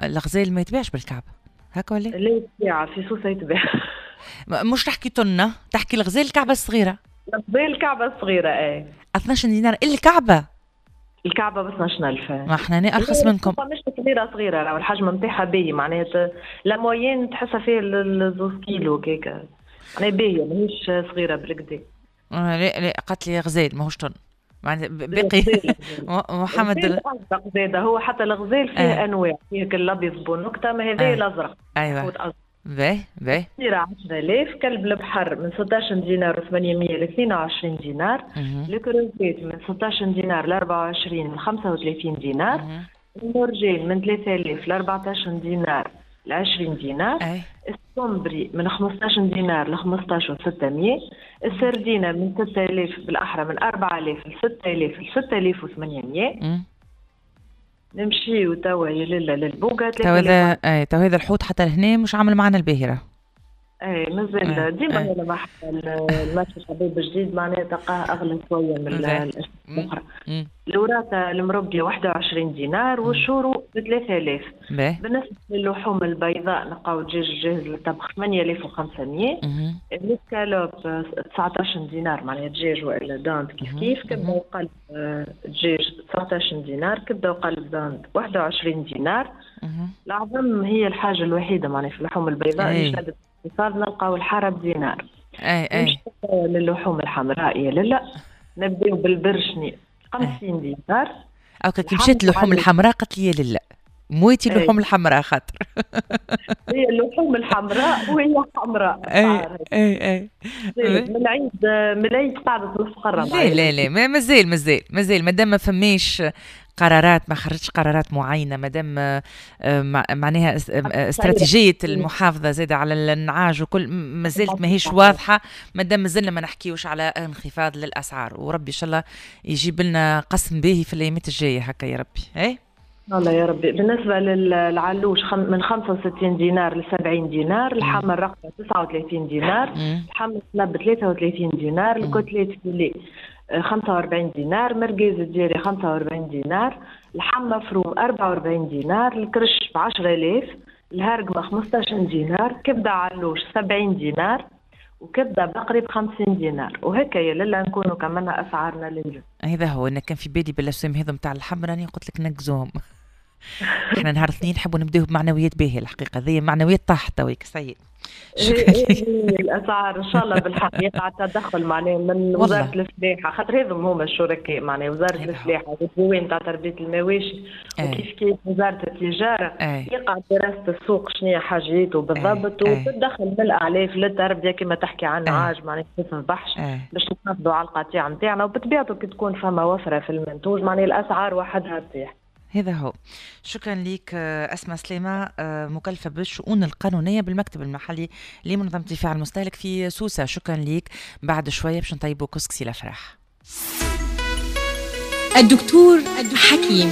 الغزال ما يتباعش بالكعبة هكا ولا؟ لا يتباع في سوسة يتباع. مش تحكي تنه، تحكي الغزال الكعبة الصغيرة. الغزال الكعبة الصغيرة اي. 12 دينار الكعبة. الكعبة ب 12000. ما احنا ارخص منكم. مش صغيرة صغيرة، راهو الحجم نتاعها باهي، معناها la moyenne تحسها فيه 2 كيلو كيكا، معناها باهيه ماهيش صغيرة بالكدا. لا لا، قالت لي غزال ماهوش تن، معناها باقي محمد. الازرق زاد، هو حتى الغزال فيه انواع، فيه الابيض بونكته، ما هذا الازرق. ايوه، باهي باهي. 10000. كلب البحر من 16 دينار و 800 ل 22 دينار. الكروفيت من 16 دينار ل 24 ل 35 دينار. المرجان من 3000 ل 14 دينار ل 20 دينار. السمبري من 15 دينار ل 15 و 600. السردينة من 6000، بالأحرى من 4000 ل 6000 ل 6800. نمشيو توا يا لالا للبوغا. تو هذا اي، تو هذا الحوت حتى لهنا مش عامل معنا الباهرة. اي مازال ديما لما حتى ال marché شباب جديد معناها تلقاه اغلى شوية من الاشياء الاخرى. الوراثة المربيه 21 دينار والشورو ب 3000. بالنسبة للحوم البيضاء نلقاو دجاج جاهز للطبخ 8500، الاسكالوب 19 دينار، معناها دجاج والا dinde كيف كيف، كبده وقلب دجاج 19 دينار، كبده وقلب dinde 21 دينار. العظم هي الحاجة الوحيدة معناها في اللحوم البيضاء اللي شهدت اقتصاد، نلقاو الحارة بدينار. اي. للحوم الحمراء يا لالا، نبداو بالبرشني 50 دينار. او كي مشيت اللحوم الحمراء قالت لي لا مويتي اللحوم الحمراء خاطر هي اللحوم الحمراء وهي حمراء. اي. من العيد قاعدة مستقره. لا لا لا، ما مازال مازال مازال، مادام ما فماش قرارات، ما خرجتش قرارات معينه، مادام معناها استراتيجية المحافظة زاده على النعاج وكل ما زالت ماهيش واضحه، مادام مازلنا ما نحكيوش على انخفاض للاسعار، وربي ان شاء الله يجيب لنا قسم باهي في الايامات الجاية هكا يا ربي اي. الله يا ربي. بالنسبة للعلوش من 65 دينار ل 70 دينار، اللحم الرقبة 39 دينار، اللحم السنب 33 دينار، ال côtelette filet 45 دينار، مرقيز الدياري 45 دينار، لحم مفروم 44 دينار، الكرش ب 10000، الهرقمة 15 دينار، كبدة علوش 70 دينار، وكبده بقري ب 50 دينار. وهكا يا لالا نكونوا كملنا اسعارنا لليوم. هذا هو، انا كان في بالي بالاسوام هذو نتاع اللحم راني قلت لك نقزوهم. احنا نهار اثنين نحبوا نبداو بمعنويات باهيه، الحقيقة ذي معنويات طاحت تويك سيء. شكرا. الاسعار ان شاء الله بالحق يقع التدخل معناها من وزارة الفلاحه، خاطر هذم هما الشركاء، معناها وزارة الفلاحة والديوان تاع تربيه المواشي وكيف كيف وزارة التجاره. يقع دراسة السوق شنو هي حاجيته بالضبط وتدخل من الاعلاف للتربية كما تحكي عن عاج معناها ما تذبحش باش نحافظوا على القطيع نتاعنا، وبطبيعته كي تكون فما وفرة في المنتوج معناها الاسعار وحدها تطيح. هذا هو. شكرا لك أسماء سليمة، مكلفة بالشؤون القانونية بالمكتب المحلي لمنظمة الدفاع المستهلك في سوسة، شكرا لك. بعد شوية باش نطيبوا كسكسي الأفراح. الدكتور حكيم.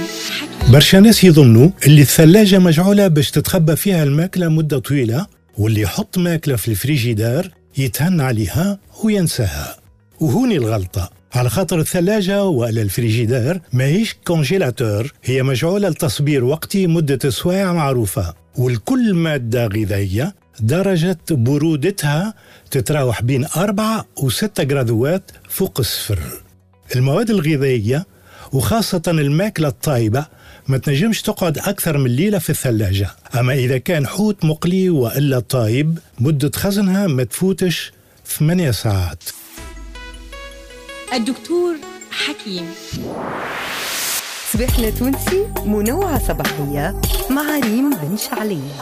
برشا ناس يظنوا اللي الثلاجة مجعولة باش تتخبى فيها الماكلة مدة طويلة، واللي يحط ماكلة في الفريجيدار يتهنى عليها وينساها، وهوني الغلطة، على خاطر الثلاجة ولا الفريجيدار ماهيش congélateur، هي مجعولة لتصبير وقتي مدة سوايع معروفة، والكل مادة غذائية درجة برودتها تتراوح بين 4 و6 جرادوات فوق الصفر. المواد الغذائية وخاصة الماكلة الطايبة ما تنجمش تقعد أكثر من ليلة في الثلاجة، أما إذا كان حوت مقلي وإلا طايب مدة خزنها ما تفوتش 8 ساعات. الدكتور حكيم. صباحنا تونسي، منوعة صباحية مع ريم بن شعلية.